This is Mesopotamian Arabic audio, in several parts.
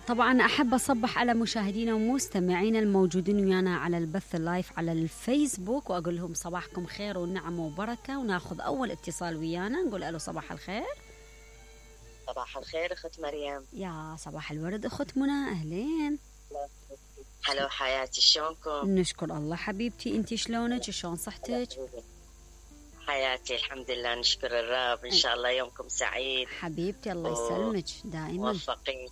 طبعا أحب أصبح على مشاهدينا ومستمعينا الموجودين ويانا على البث اللايف على الفيسبوك، وأقول لهم صباحكم خير ونعمة وبركة، وناخذ أول اتصال ويانا. نقول ألو صباح الخير. صباح الخير أخت مريم. يا صباح الورد أخت منى، أهلين. هلو حياتي، شلونكم؟ نشكر الله حبيبتي، أنتي شلونك؟ شلون صحتك؟ حياتي الحمد لله، نشكر الرب. إن شاء الله يومكم سعيد حبيبتي، الله يسلمك دائما. موفقين.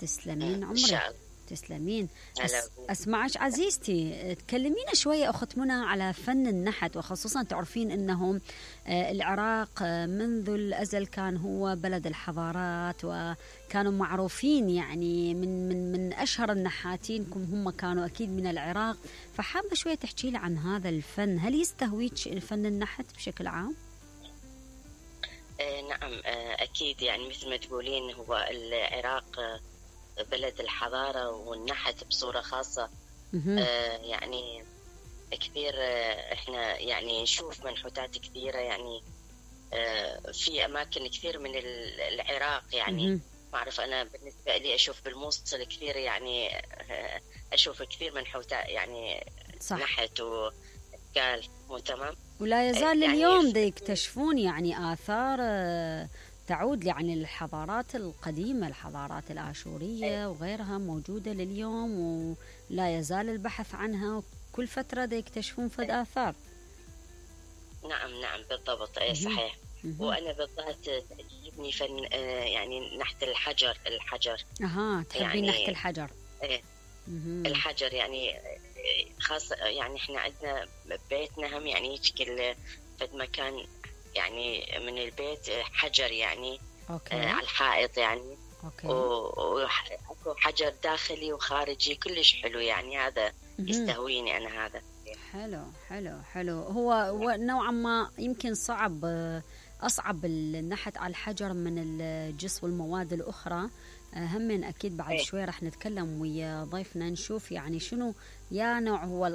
تسلمين إن شاء عمرك. الله. تسلمين. هلا. أسمعك عزيزتي، تكلمينا شوية أخت منى على فن النحت، وخصوصا تعرفين أنه العراق منذ الأزل كان هو بلد الحضارات، وكانوا معروفين يعني من أشهر النحاتين هم كانوا أكيد من العراق. فحابة شوية تحكي لي عن هذا الفن، هل يستهويك فن النحت بشكل عام؟ نعم، أكيد. يعني مثل ما تقولين، هو العراق بلد الحضارة والنحت بصورة خاصة. يعني كثير، احنا يعني نشوف منحوتات كثيرة، يعني في أماكن كثير من العراق. يعني ما أعرف، أنا بالنسبة لي أشوف بالموصل كثير، يعني أشوف كثير منحوتات، يعني صح. نحت وأشكال. مو تمام. ولا يزال يعني اليوم يكتشفون يعني آثار تعود يعني للحضارات القديمة، الحضارات الآشورية وغيرها موجودة لليوم، ولا يزال البحث عنها، وكل فترة يكتشفون فد آثار. نعم بالضبط، صحيح. وأنا بالذات تعجبني فن يعني نحت الحجر. تحبين يعني نحت الحجر؟ الحجر يعني خاصة، يعني احنا عندنا بيتنا هم يعني يشكل فد مكان يعني من البيت حجر، يعني على الحائط يعني. وأكو حجر داخلي وخارجي كلش حلو، يعني هذا يستهويني أنا. هذا حلو. هو نوعا ما يمكن أصعب النحت على الحجر من الجص والمواد الأخرى. هم أكيد بعد شوي راح نتكلم ويا ضيفنا نشوف يعني شنو يا نوع هو